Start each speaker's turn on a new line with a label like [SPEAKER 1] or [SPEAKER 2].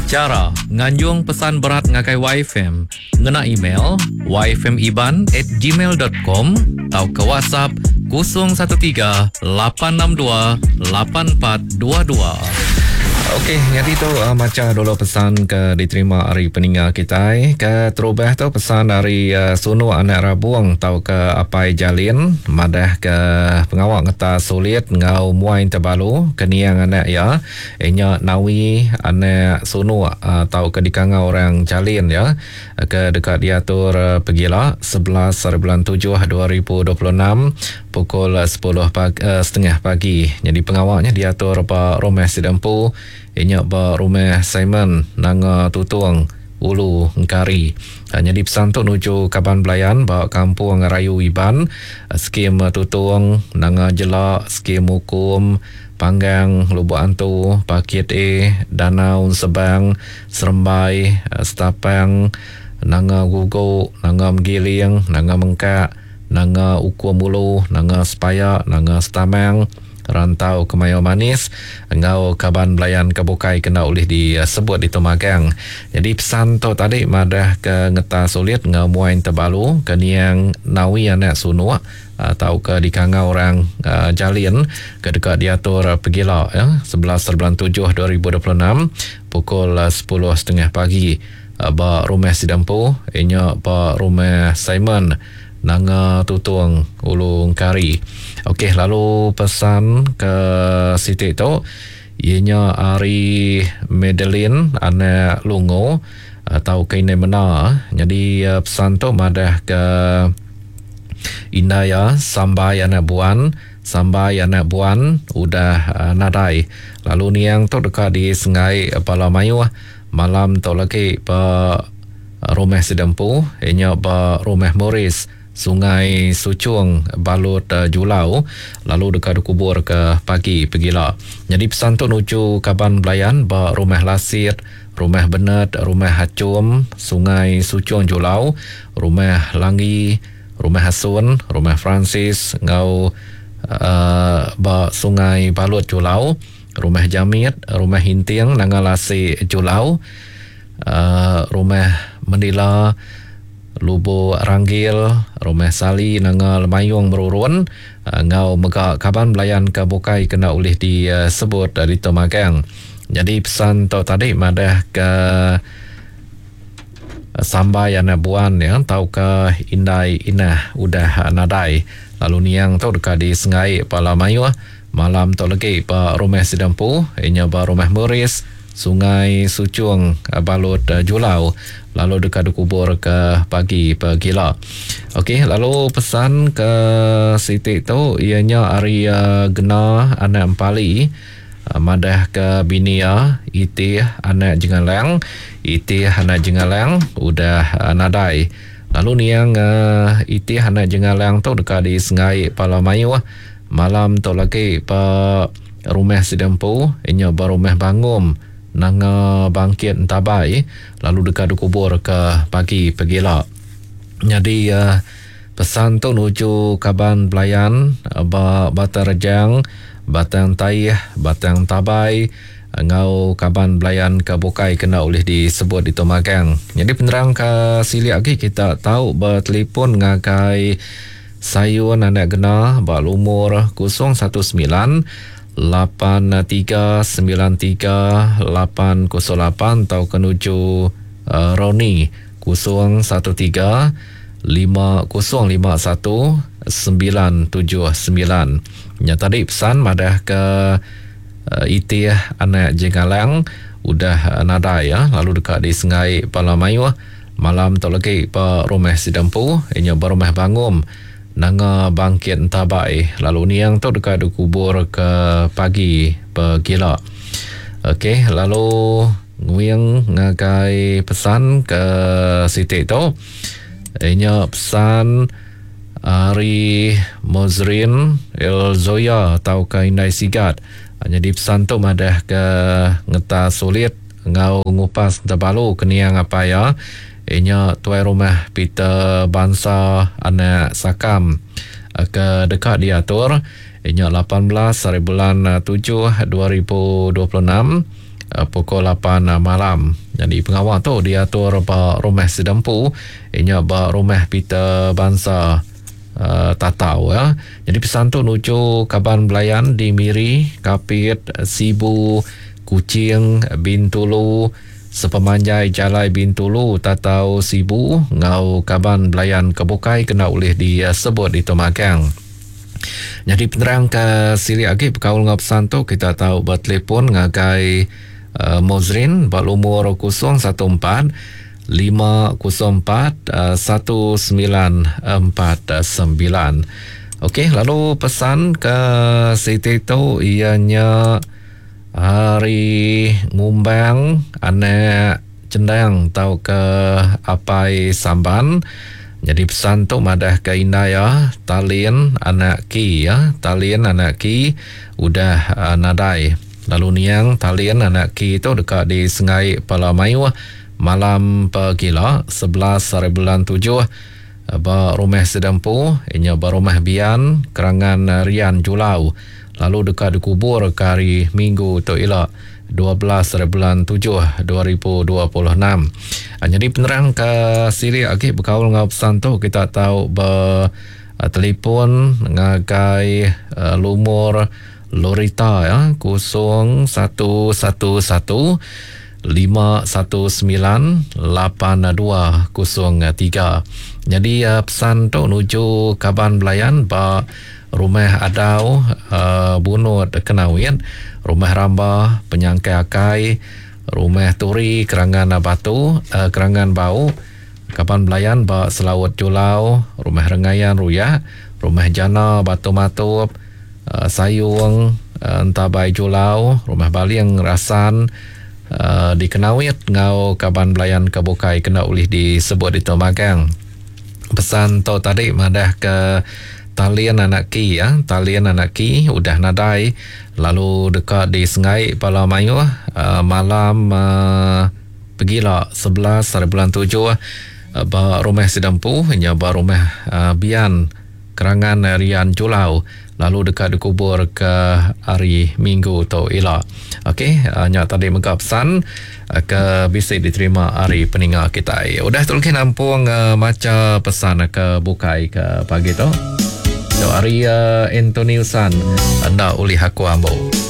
[SPEAKER 1] Chara nganjung pesan berat ngagai YFM ngena email yfmiban at gmail dot com tauka WhatsApp 013 862 8422.
[SPEAKER 2] Okey, nyadi tu uh, macha dulu pesan ke diterima ari peninga kitai. Ke terubah tu pesan ari uh, Sunu Anak Rabung tauka Apai Jalin madah ke pengawa ngetas sulit enggau muai tebalu ke niang anak iya Inya Nawi anak Sunuk tauka dikangau orang Jalin iya ke deka diatur pegila 11 hari bulan tujuh 2026 pukul sepuluh pagi setengah pagi. Nyadi pengawa nya diatur ba rumah sida empu inya ba Rumah Simon Nanga Tutong Ulu Engkari. Nyadi pesan tu nuju kaban belayan ba Kampung Rayu Iban Skim Tutong Nanga Jela Skim Ukum Panggang, Lubok Antu, Pakit A, Danau Ensebang, Serembai, Setapang, Nanga Gugu, Nanga Megiling, Nanga Mengkak, Nanga Ukum Ulu, Nanga Sepaya, Nanga Setamang, Rantau Kemayau Manis enggau kaban belayan ke bukai ke enda ulih disebut ditu magang. Nyadi pesan tu tadi madah ke ngetas ulit enggau muai tebalu ke niang Nawi anak Sunuk tauka dikangau orang Jalin ke deka diatur pegila ya 11 bulan 7 2026 pukul 10.30 pagi ba rumah sida empu inya ba rumah Simon Nanga Tutong Ulu Engkari. Okey lalu pesan ke siti tu iya nya ari Madeline anak Lungo tauka indai mena nyadi pesan tu madah ke Indai iya Sambai anak Buan, Sambai anak Buan udah nadai lalu niang tu deka disenggai bala mayuh malam tu lagi ba rumah sida empu iya nya ba Rumah Morris, Sungai Suchong, Balut Julau lalu deka dikubur ke pagi pegila. Nyadi pesan tu nuju kaban belayan ba Rumah Lasit, Rumah Benet, Rumah Hachum, Sungai Suchong Julau, Rumah Langgi, Rumah Hasun, Rumah Francis enggau ba Sungai Balut Julau, Rumah Jamit, Rumah Hinting Nanga Lasi Julau, Rumah Mendila, Lubok Ranggil, Rumah Sali Nanga Lemayung Merurun enggau mega kaban belayan ke bukai ke enda ulih disebut ditu magang. Nyadi pesan tu tadi madah ke Sambai anak Buan iya tauka Indai Inah udah nadai lalu niang tu deka disenggai bala mayuh malam tu legi ba rumah sida empu iya nya ba Rumah Morris, Sungai Suchong, Balut Julau lalu deka dikubur ke pagi pegila. Okey lalu pesan ke siti tu iya nya ari Gena anak Empali. Madahka bini iya, Itih anak Jengalang, Itih anak Jengalang udah nadai. Lalu niang Itih anak Jengalang tu deka disenggai pala mayuh malam tu lagi ba rumah sida empu iya nya ba Rumah Bangum, Nanga Bangkit Entabai lalu deka dikuburka pagi pegila. Nyadi Pesan tu nuju kaban belayan ba Batang Rejang, Batang Taih, Batang Tabai enggau kaban belayan ke bukai ke enda ulih disebut ditu magang. Nyadi penerang ke silik agi kita tau betelefon ngagai Sayun Anak Gena ba lumur 019 8393 808 tauka nuju Ronnie 013 5051 979. Nya tadi pesan madah ke Itih anak Jengalang udah nadai ya lalu deka disenggai bala mayuh malam tu lagi ba rumah sida empu iya nya ba rumah Bangum Nanga Bangkit Entabai lalu niang tu deka dikubur ke pagi pegila. Okey lalu Nguing ngagai pesan ke siti tu. Inya pesan ari Mozrin Elzoya tauka Indai Sigat. Nyadi pesan tu madah ke ngetas sulit enggau ngupas tebalu ke niang apai iya. Inya tuai rumah Peter Bansa anak Sakam ke deka diatur inya 18 hari bulan 7 2026. pukul 8 malam. Nyadi pengawa tu diatur ba Rumah Sedempu inya ba Rumah Peter Bansa Tatau. Nyadi pesan tu nuju kaban belayan di Miri, Kapit, Sibu, Kuching, Bintulu, sepemanjai jalai Bintulu, Tatau, Sibu enggau kaban belayan ke bukai kena ulih disebut ditu magang. Nyadi penerang ke silik agi bekaul enggau pesan tu kita tau betelefon ngagai uh, Mozrin ba lumur 014 504 1949. Okey, lalu pesan ke siti tu ianya hari ngumbang anak Chendang tauka Apai Samban. Nyadi pesan tu madahka indai iya Talin anak Ki iya Talin anak Ki udah nadai. Lalu niang Talin anak Ki tu deka disengai pala mayuh malam pegila 11 haribulan tujuh ba Rumah Sida Empu iya nya ba Rumah Bian Kerangan Rian Julau lalu deka dikubur ke hari Minggu tu ila. 12 ari bulan 7 2026. Nyadi penerang ke silik agi bekaul enggau pesan tu kita tau betelefon ngagai lumur Lorita ya 0111 519 8203. Nyadi pesan tu nuju kaban belayan ba Rumah Adau, Bunut Kenawit, Rumah Ramba, Penyangkai Akai, Rumah Turi, Kerangan Batu, Kerangan Bau, Kaban Belayan ba Selaut Julau, Rumah Rengayan Ruyak, Rumah Jana Batu Matup, Sayung, Entabai Julau, Rumah Baling Rasan, di Kenawit enggau kaban belayan ke bukai kena ulih disebut ditu magang. Pesan tu tadi madah ke Talin anak Ki ya, Talin anak Ki udah nadai lalu deka disengai bala mayuh uh, malam uh, pegila 11 hari bulan 7 uh, ba rumah sida empu nya ba rumah uh, Bian Kerangan Rian Julau lalu deka dikubur ke hari Minggu tu ila. Okey, nya tadi mega pesan ke bisi diterima ari peninga kitai. Udah tu lagi nampung macha pesan ke bukai ke pagi tu. Tu ari Anthony Usan enda ulih aku ambu.